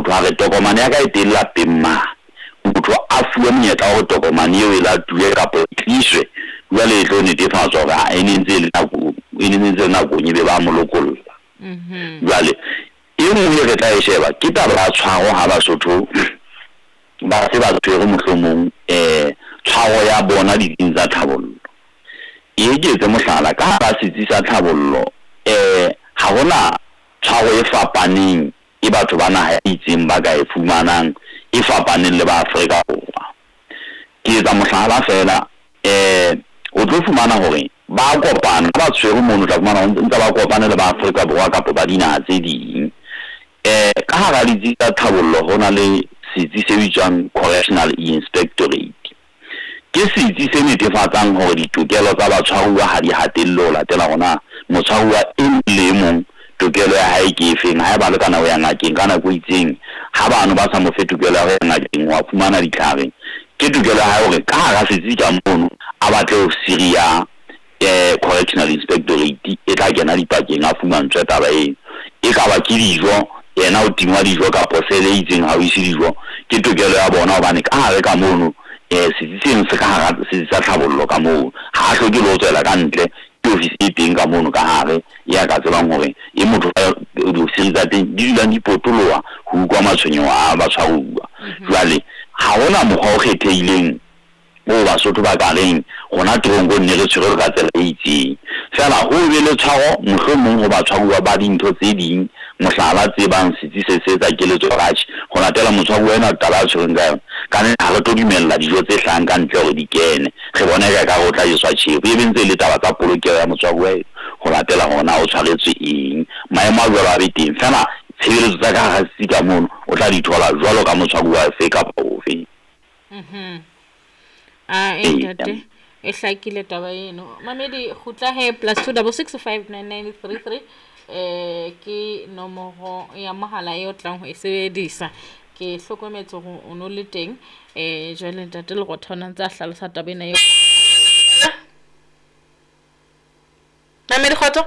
Motho a re tokomane ya ka e teng lapeng mane. Motho a fuwe monyetla wa hore tokomane eo e latuwe kapa e tliswe, jwale e tlo netefatswa hore e ne ntse e le nakong, e ne ntse e le nakong ebe ba mo lokolla. Jwale e nngwe e re tla e sheba ke taba ya tshwaro ha Basotho ba se ba tshwere mohlomong tshwaro ya bona ditsing tsa tlhabollo. E ke etse mohlala, ka hara setsi sa tlhabollo ha hona tshwaro e fapaneng e batho ba naha e itseng ba ka e fumanang e fapaneng le ba Afrika Borwa. Ke etsa mohlala feela, o tlo fumana hore ba kopana, ha ba tshwere mono o tla fumana hore ntse ba kopane le ba Afrika Borwa kapa ba dinaha tse ding. Ka hara ditsi tsa tlhabollo ho na le setsi se bitswang Correctional Inspectorate. Ke setsi se netefatsang hore ditokelo tsa batshwaruwa ha di hatellwe ho latela hore na motshwaruwa e mong le e mong tokelo ya hae ke efeng. Haeba le ka nako ya ngakeng ka nako e itseng, ha bano ba sa mo fe tokelo ya ho ya ngakeng ho fumana ditlhare, ke tokelo ya hae hore ka hara setsi ka mono a batle ofisiri ya Correctional Inspectorate e tla kena dipakeng a fumantshwe taba eno. E ka ba ke dijo, yena o tingwa dijo kapa sele e itseng ha o ise dijo, ke tokelo ya bona hobane ka hare ka mono setsi seno se ka hara setsi sa tlhabollo ka moo. Ha a hloke le ho tswela ka ntle, ke ofisi e teng ka mono ka hare ya ka tsebang hore e motho diofisiri tsa teng di dulang di potoloha ho utlwa matshwenyeho a batshwaruwa. Jwale ha hona mokgwa o kgethehileng o Basotho ba ka reng rona teronkong ne re tshwerwe ka tsela e itseng. Feela ho be le tshwaro mohlomong ho batshwaruwa ba dintho tse ding, mohlala tse bang setsi se se etsa keletso hore atjhe, ho latela motshwaruwa enwa taba a tshwerweng ka yona, ka nnete ha re tlo dumella dijo tse hlahang ka ntle hore di kene. Re bona eka ekare o tla jeswa tjhefo. E be ntse e le taba tsa polokeho ya motshwaruwa eno ho latela hore na o tshwaretswe eng. Maemo a jwalo a be teng. Feela tshebeletso tsa ka hara setsi ka mono o tla di thola jwalo ka motshwaruwa ofe kapa ofe. A e ntate e hlakile taba eno. Mamedi kgutla he +2 66 599 33 ke nomoro ya mohala e o tlang ho e sebedisa. Ke hlokometse hore o no le teng jwale ntate Lerotho o ne ntse a hlalosa taba ena eo. Mamedi kgotso.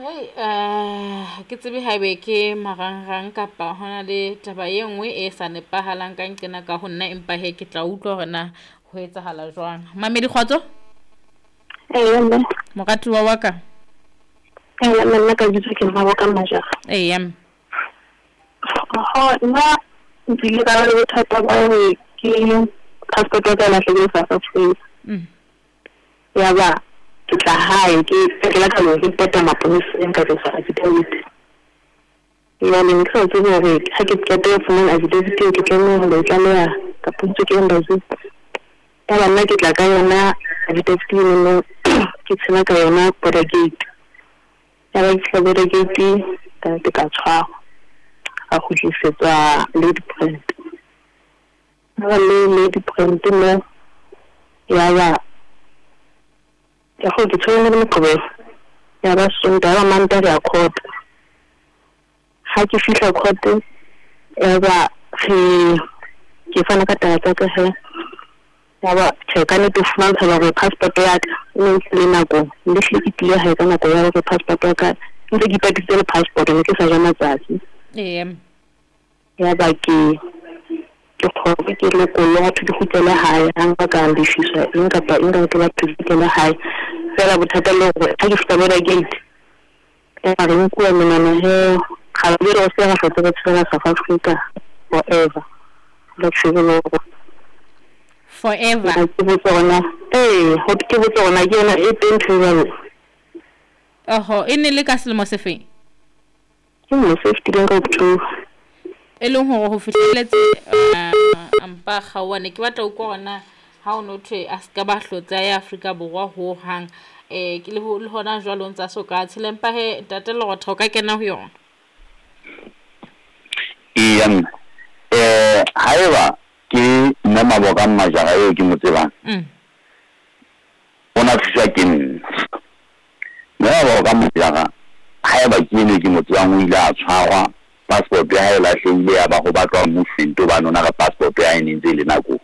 Hei, ke tsebe haebe ke marangrang kapa hona le taba e nngwe e sa nepahalang ka nqena ka ho nna, empa he ke tla utlwa hore na ho etsahala jwang. Mamedi kgotso. Eya mme. Moratuwa wa ka. Eya mme, nna ka bitso ke Mmaboka Majara. Eya mme. Oho, nna nkile ka ba le bothata ba hore ke passport ya ka e lahlehile South Africa. Ya ba ke tla hae ke ke la ka lo report-a maponeseng ka tlosa affidavit. Jwale ne ke sa tsebe hore ha ke qeta ho fumana affidavit eo ke tlameha ho lo e tlaleha kapa ntse ke embassy. Ya ba nna ke tla ka yona affidavit eno ke tshela ka yona border gate. Ya ba ke fihla border gate ka ke ka tshwarwa. Ka kgutlisetswa Ladybrand. Ha ba le Ladybrand mo ya ba ya go ke tshwere le Moqebelo. Ya ba Sontaha, ya ba Mantaha re ya court. Ha ke fihla court ya ba re ke fana ka taba tsa ka he. Ya ba tjhe ka nnete ho fumantsha hore passport ya ka e ne ntse le nakong. Mme hlile ke tlile hae ka nako ya hore passport ya ka ntse ke ipatisitse le passport ne ke sa ja matsatsi. Eya. Ya ba ke kgone ke lokollwe ha thwe ke kgutlele hae, ha nka ka lefiswa eng kapa eng ka ke batho ke kgutlele hae. Feela bothata le hore ha ke fihla border gate ya re nkuwa menwana he ga be re se ra hlotse re tshela South Africa forever. La tshwere le hore Forever. Ke botse hore ee, ho ke botse hore ke yona e teng ntho e jwalo. Oho, e ne le ka selemo se feng? Ke selemo se fetileng ka October. E leng hore ho fihlelletse mpa kgaoha, ne ke batla ho utlwa hore na ha o no thwe a ska ba hlotse a ya Afrika Borwa ho hang ke le hona jwale o ntsa so ka tshela, empa he ntate Lerotho o ka kena ho yona. Eya mme, haeba ke mme Maboka Majara eo ke mo tsebang, o na thuswa ke nna. Mme Maboka Majara haeba ke eno ke mo tsebang o ile a tshwarwa, passport ya hae e lahlehile ya ba ho batlwa movement hobane o na re passport ya hae e ne ntse e le nakong.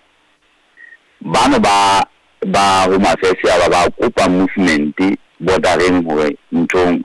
Bano ba Home Affairs ya ba ba kopa movement bordereng hore nthong